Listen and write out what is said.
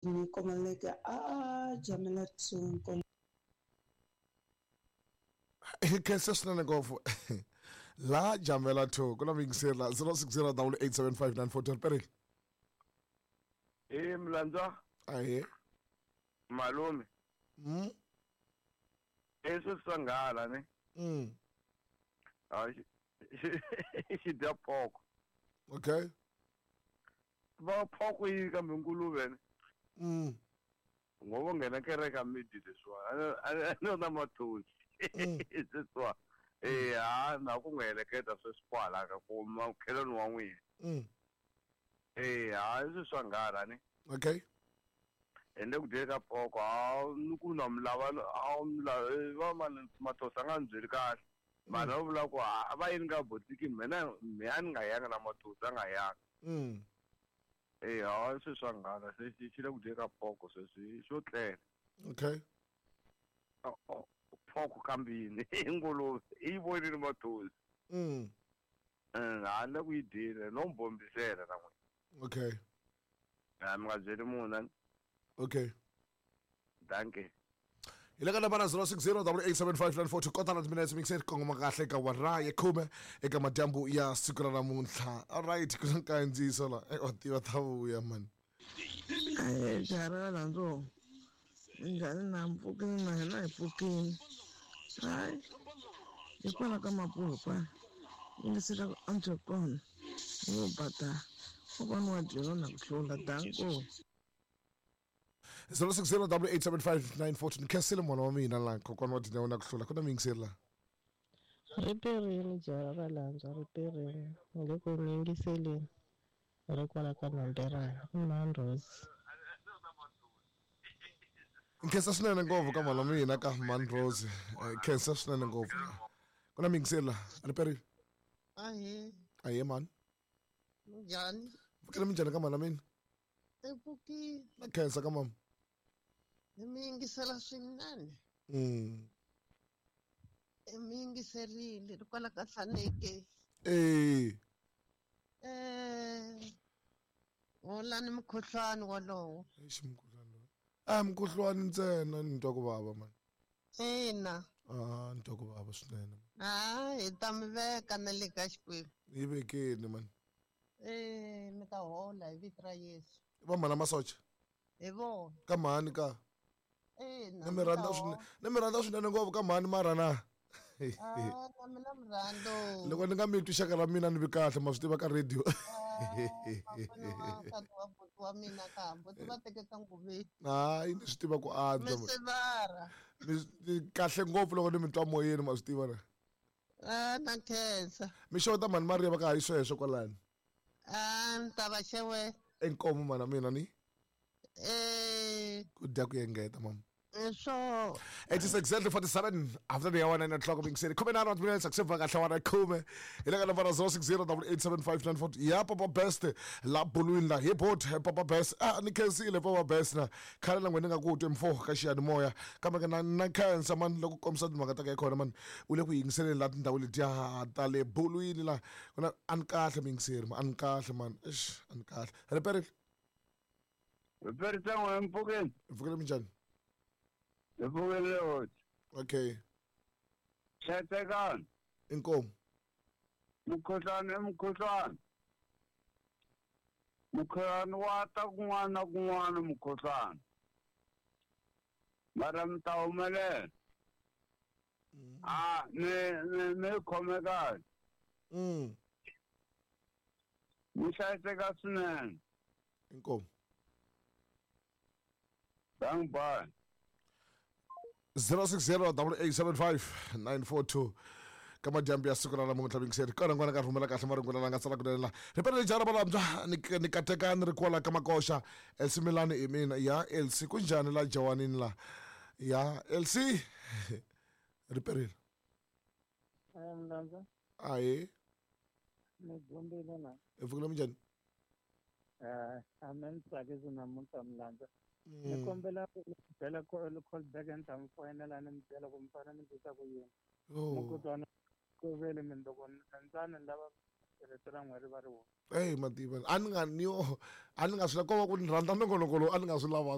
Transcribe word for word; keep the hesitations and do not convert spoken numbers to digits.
Ni komaleke a jamela two. Khensa swinene ngopfu la jamela two ku na muyingiseri la zero six zero double eight seven five nine four two riperile. E mlandza. Ahe. Malume. Mm. Eso sangala ne. Mm. Ah, xi dya poko. Okay. Va poko yi kambe nguluve ne. Mm. Ngoba ngena kereka midi leswiwa. A no na mathosi. Leswiwa. Eh ha na ku ngeleketa sweswi kwala ka ku makhelwani wa n'wina. Mm. Eh ha leswi swa nghala ne. Okay. Ende ku dyeka poko ha ni ku na mlava a mlava va mani mathosi a nga ni byeli kahle. Mara va vula ku a va yini ka botiki mina me a ni nga yanga na mathosi a nga yanga. Mm. Eh ha leswi swa nghala se xi le ku dyeka poko sweswi xo tlela. Okay. Poko kambini nguluve i vonile mathosi. Mm. Eh ha le ku yi dyile no mbombisela na n'wina. Okay. A mi nga byeli munhu. Okay. Danke. Hi le ka nambara zero six zero double eight seven five nine four two kotara minutes mixer kongoma kahle ka wara ya khume eka madyambu ya siku ra namuntlha. All right, ku na nkandziyiso la e wa tiva ta vuya man. Eh jara landzo. Njhani na mpfukini na hina hi pfukini. Hayi. Hikwalaho ka mapulo kwala. Yingisela ku antswa kona. Wo bata. Kokwana wa dyela na ku hlula danko. zero six zero double eight seven five nine four two khensile mwana wa mina la kokwana wa dyela na ku hlula ku na muyingiseri la. Riperile jara ra landzwa riperile ni le ku mi yingiseleni ri kwala ka Nhonderana i Manrose. Khensa swinene ngopfu ka mwana wa mina ka Manrose. Khensa swinene ngopfu. Ku na muyingiseri la riperile. Ahe. Ahe man. Njhani? Pfukile minjhani ka mwana wa mina? Epfukile. Na khensa ka mama. Ni mi yingisela swinene. Mm. Mi yingiserile ri kwala ka Hlaneke. Eh. Eh. Holani mukhuhlwani wolowo. Eish mukhuhlwani lowu. A mukhuhlwani ntsena ni twa ku vava man. Ina. Ah, ni twa ku vava swinene. Ah, hi ta mi veka na le ka Xikwembu. Yi vekeni man. Eh, mi ta hola hi vito ra Yesu. Va mhana masocha. Hi vona. Ka mhani ka. Ina. Ni mi rhandza swinene. Ni mi rhandza swinene ngopfu ka mhani mara na. Ah, na mina mi rhandza. Loko ni nga mi twi xaka ra mina ni vi kahle ma swi tiva ka radio. Ah, wa buti wa mina ka buti va tekeka nguveni. Hayi ni swi tiva ku antswa. Mi sivara. Ni kahle ngopfu loko ni mi twa moyeni ma swi tiva na. Ah, na khensa. Mi xota mhani Maria va ka hayi sweswo kwalani. Ah, ni ta va xewela. Inkomu mana mina ni. Eh. Ku dya ku engeta mama. So it is exactly forty-seven after the hour nine o'clock being said. Come in minutes except for kahle khume. Hi le ka nambara zero six zero double eight seven five nine four. Ya Papa Best la bulwini la hi bot Papa Best. Ah ni khensile Papa Best na. Khale na n'wina nga ku twe mfo ka xiyanimoya. Kambe na na khensa man loko kombisa timhaka ta ka khona man. U le ku yingiseleni la tindhawu letiya ta le bulwini la. Kuna an kahle miyingiseri man an kahle man. Eish an kahle. Riperile. Riperile tsan'we mpfukeni. Mpfukeni minjhani? Mpfukeni. Okay. Hlayisekani. Inkomu. Mukhuhlwani i mukhuhlwani. Mukhuhlwani wa ta kun'wana na kun'wana mukhuhlwani. Mara mi ta humelela. Ah, ni ni ni khome kahle. Mm. Mi hlayiseka swinene. Inkomu. Thank bye. zero six zero double eight seven five nine four two ka madyambu ya siku ra namuntlha mingiseri kona n'wana ka rhumela kahle marungula la nga tsala kunene la riperile jara valambya ni ni kateka ni ri kwala ka makoxa Elsie Milani i mina ya Elsie ku njhani la jawanini la ya Elsie riperile. Eh mlandza. Ahe. Ni gombile na. Epfukile minjhani? Eh a me ni tsakisi namuntlha mlandza. Ni kombela ku byela call back ni ta mi foyinela ni mi byela ku mi fanele mi tisa ku yini. Mukhuhlwana ku vele mindloko ntsana ni lava Rito ra n'we ri va ri wo. Ey mativa a ni nga ni yo a ni nga swi la ko va ku ni rhandza nongonoko lowu a ni nga swi lavanga.